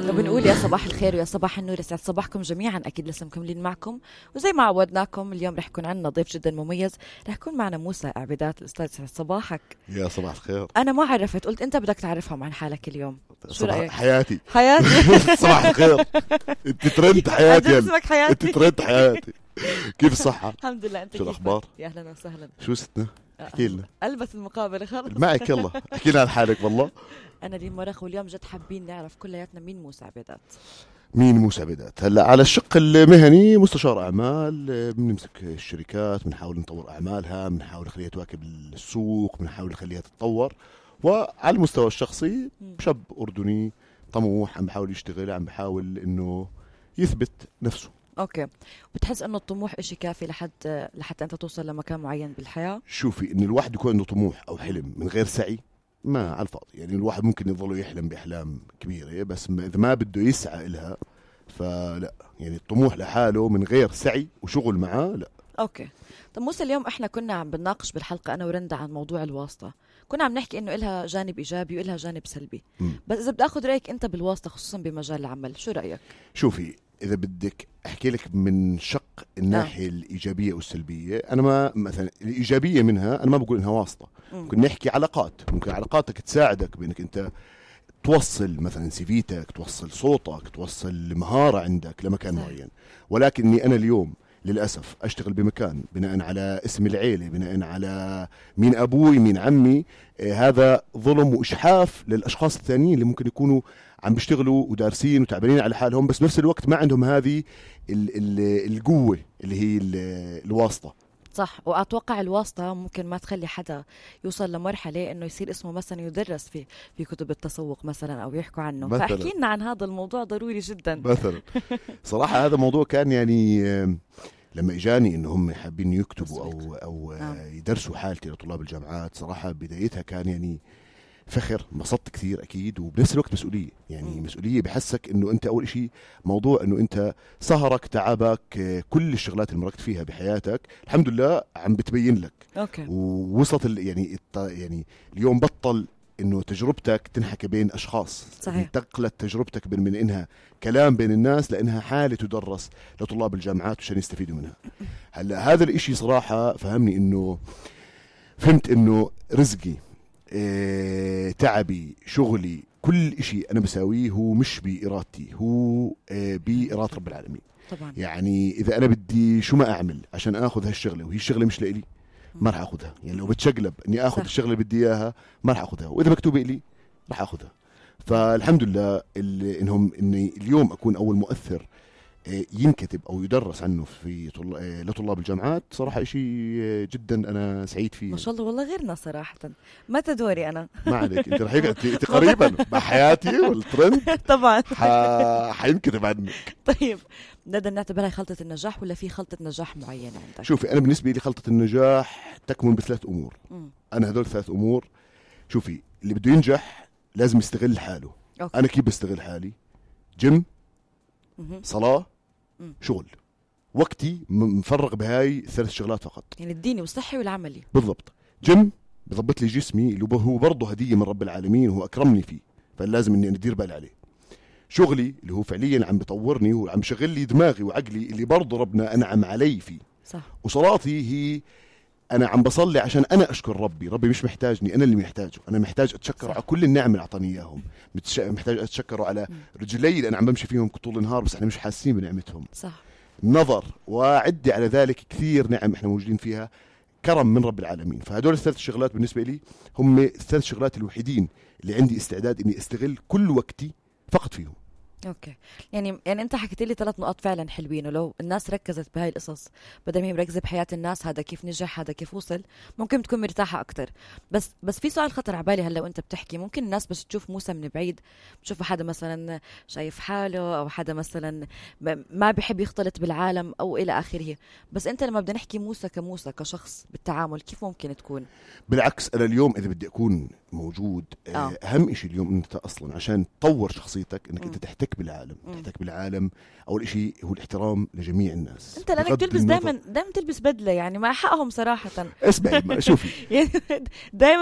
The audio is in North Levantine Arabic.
وبنقول يا صباح الخير ويا صباح النور، يسعد صباحكم جميعا. اكيد لسه مكملين معكم، وزي ما عودناكم اليوم رح يكون عندنا ضيف جدا مميز. رح يكون معنا موسى عبيدات. الاستاذ يسعد صباحك. يا صباح الخير. انا ما عرفت، قلت انت بدك تعرفهم عن حالك اليوم. شو رأيك؟ حياتي صباح الخير. انت ترند حياتي. اسمك حياتي. انت ترند حياتي. كيف الصحة؟ الحمد لله. انت شو الاخبار؟ يا اهلا وسهلا. شو ستنا؟ احكي لنا. البس المقابله خلص معك يلا احكي لنا عن حالك. والله انا لي مرخ، واليوم جد حابين نعرف كلياتنا مين موسى عبيدات. مين موسى عبيدات؟ هلا على الشق المهني مستشار اعمال، بنمسك الشركات، بنحاول نطور اعمالها، بنحاول نخليها تواكب السوق، بنحاول نخليها تتطور. وعلى المستوى الشخصي شاب اردني طموح، عم بحاول يشتغل، عم بحاول انه يثبت نفسه. اوكي. بتحس انه الطموح اشي كافي لحتى انت توصل لمكان معين بالحياة؟ شوفي، ان الواحد يكون عنده طموح او حلم من غير سعي ما على الفاضي. يعني الواحد ممكن يظل يحلم باحلام كبيره، بس اذا ما بده يسعى لها فلا. يعني الطموح لحاله من غير سعي وشغل معاه لا. اوكي. طب موسى، اليوم احنا كنا عم بنناقش بالحلقه انا ورندا عن موضوع الواسطه. كنا عم نحكي انه إلها جانب ايجابي وإلها جانب سلبي. بس اذا بدي اخذ رايك انت بالواسطه خصوصا بمجال العمل، شو رايك؟ شوفي، اذا بدك احكي لك من شق الناحيه الايجابيه والسلبيه، انا ما مثلا الايجابيه منها انا ما بقول انها واسطه. ممكن نحكي علاقات، ممكن علاقاتك تساعدك بانك انت توصل مثلا سيفيتك، توصل صوتك، توصل مهاره عندك لمكان معين. ولكني انا اليوم للأسف أشتغل بمكان بناء على اسم العيلة، بناء على مين أبوي مين عمي. هذا ظلم وإشحاف للأشخاص الثانيين اللي ممكن يكونوا عم بيشتغلوا ودارسين وتعبانين على حالهم، بس بنفس الوقت ما عندهم هذه القوة اللي هي الواسطة. صح. وأتوقع الواسطة ممكن ما تخلي حدا يوصل لمرحلة إنه يصير اسمه مثلا يدرس في كتب التسوق مثلا أو يحكوا عنه. فأحكي لنا عن هذا الموضوع، ضروري جدا مثلا. صراحة هذا موضوع كان يعني لما إجاني إنه هم حابين يكتبوا أو يدرسوا حالتي لطلاب الجامعات، صراحة بدايتها كان يعني فخر، انبسطت كثير أكيد، وبنفس الوقت مسؤولية. يعني مسؤولية بحسك إنه أنت أول شيء موضوع إنه أنت سهرك تعبك كل الشغلات اللي مرقت فيها بحياتك الحمد لله عم بتبين لك. أوكي. ووصلت يعني اليوم بطل إنه تجربتك تنحكي بين أشخاص. صحيح. انتقلت تجربتك من إنها كلام بين الناس لإنها حالة تدرس لطلاب الجامعات عشان يستفيدوا منها. هلا هذا الإشي صراحة فهمت إنه رزقي، تعبي، شغلي، كل إشي أنا بساويه هو مش بإرادتي، هو بإرادة رب العالمين. طبعا. يعني إذا أنا بدي شو ما أعمل عشان أخذ هالشغلة وهي الشغلة مش لإلي ما رح أخذها. يعني لو بتشقلب إني أخذ الشغلة اللي بدي إياها ما رح أخذها، وإذا مكتوبة إلي رح أخذها. فالحمد لله إني اليوم أكون أول مؤثر ينكتب أو يدرس عنه لطلاب الجامعات. صراحة إشي جدا أنا سعيد فيه. ما شاء الله. والله غيرنا صراحة. متى دوري أنا؟ ما عليك، أنت رح أنت قريبا مع حياتي والترند طبعا حينكتب عنك. طيب نقدر نعتبرها خلطة النجاح ولا في خلطة نجاح معينة عندك؟ شوفي، أنا بالنسبة لي خلطة النجاح تكمن بثلاث أمور. أنا هدول ثلاث أمور. شوفي، اللي بده ينجح لازم يستغل حاله. أوكي. أنا كيف بستغل حالي؟ جيم، صلاة، شغل. وقتي مفرغ بهاي الثلاث شغلات فقط. يعني الديني والصحي والعملي. بالضبط. جيم بضبط لي جسمي اللي هو برضه هدية من رب العالمين وهو أكرمني فيه، فلازم إني أدير بالي عليه. شغلي اللي هو فعليا عم بطورني وعم بشغل لي دماغي وعقلي اللي برضه ربنا أنعم علي فيه. صح. وصلاتي هي أنا عم بصلي عشان أنا أشكر ربي مش محتاجني، أنا اللي محتاجه. أنا محتاج أتشكر على كل النعم اللي أعطاني إياهم. محتاج أتشكره على رجلي اللي أنا عم بمشي فيهم طول النهار بس إحنا مش حاسين بنعمتهم. صح. نظر وعدي على ذلك كثير نعم إحنا موجودين فيها، كرم من رب العالمين. فهدول الثلاث شغلات بالنسبة لي هم الثلاث شغلات الوحيدين اللي عندي استعداد إني أستغل كل وقتي فقط فيهم. اوكي. يعني انت حكيت لي 3 نقاط فعلا حلوين، ولو الناس ركزت بهاي القصص بدل ما هي مركزه بحياه الناس، هذا كيف نجح هذا كيف وصل، ممكن تكون مرتاحه اكتر. بس في سؤال خطر على بالي هلا وانت بتحكي. ممكن الناس بس تشوف موسى من بعيد بتشوف حدا مثلا شايف حاله او حدا مثلا ما بيحب يختلط بالعالم او الى اخره، بس انت لما بدنا نحكي موسى كموسى كشخص بالتعامل كيف ممكن تكون؟ بالعكس، انا اليوم اذا بدي اكون موجود اهم شيء اليوم انت اصلا عشان تطور شخصيتك انك انت تحتك بالعالم. اول شيء هو الاحترام لجميع الناس. انت لانك تلبس دائما تلبس بدله، يعني مع حقهم صراحه. اسمعي شوفي دائما